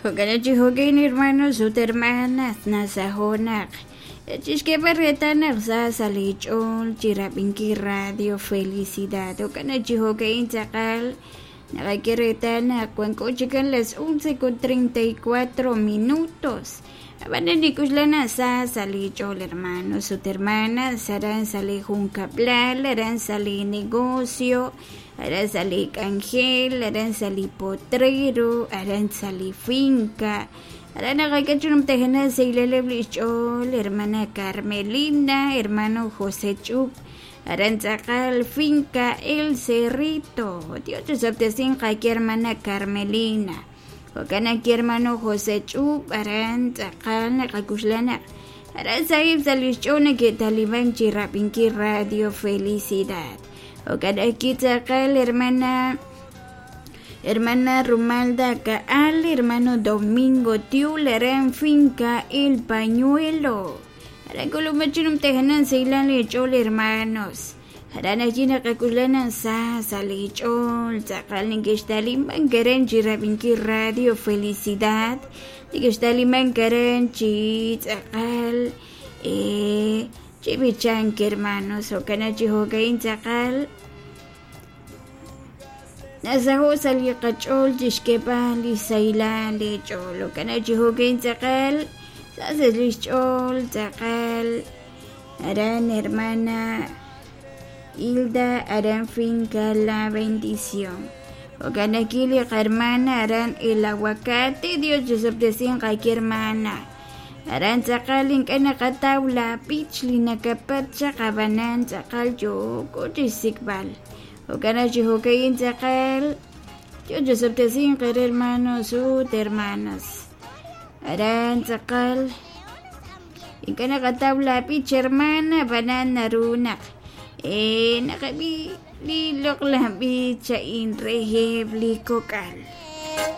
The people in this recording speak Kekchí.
Jo'kan chi jo'kan hermanos ut hermanas nasaho' naq chixk'eeb'al reetal naq sa sa' li ch'ool chi rab'inkil Radio Felicidad. Jo'kan chi jo'ka'in tz'aqal naqak'e reetal naq wanko chikan las 11:34 minutos. Ab'anan nik'uxla naq sa sa' li ch'ool hermanos ut hermanas aran sa' li junkab'lal, aran sa' li negocio, aran sa' li k'anjel, aran sa' li potrero, aran sa' li finca. Aran naqak'e chi numtajenaq saylaleb' li xch'ool hermana Carmelina, hermano José Ch'up, aran tz'aqal finca El Cerrito. Dios chisob'tesinq qaki hermana Carmelina. Jo'kan aki hermano José Ch'up, aran tz'aqal naqakuxla naq aran sahib' sa' li xch'ool neke'talimank chi rab'inkil Radio Felicidad. Jo'kan aki tz'aqal hermana hermana Rumalda Kaal, hermano Domingo Tiul, aran finca El Pañuelo. Aran k'ulub'aj chi numtajenaq saylan li ch'ool hermanos. Aran allí naqak'uxla naq sa sa' li ch'ool tz'aqal neke'xtalimank aran chi rab'inkil Radio Felicidad, neke'xtalimank aran chi tz'aqal chi b'ichank hermanos. Jo'kan chi jo'ka'in tz'aqal nasaho' sa' li qach'ool chixk'eeb'al li sahilal li ch'ool. Jo'kan chi jo'ka'in tz'aqal sa sa' li xch'ool tz'aqal aran hermana Hilda aran finca La Bendición. Jo'kan aki li qahermana aran El Aguacate, Dios chisob'tesinq qaki hermana. Aran tz'aqal ink'a' naqataw la b'ich li nakapat chaq ab'anan tz'aqal yooko chixsik'b'al. Jo'kan naq chi jo'ka'in tz'aqal Dios chisob'tesinq eere hermanos ut hermanas. Aran tz'aqal ink'a' naqataw la b'ich hermana ab'anan naru naq naqab'i li loq'laj b'ich a'in reheb' li kok'al.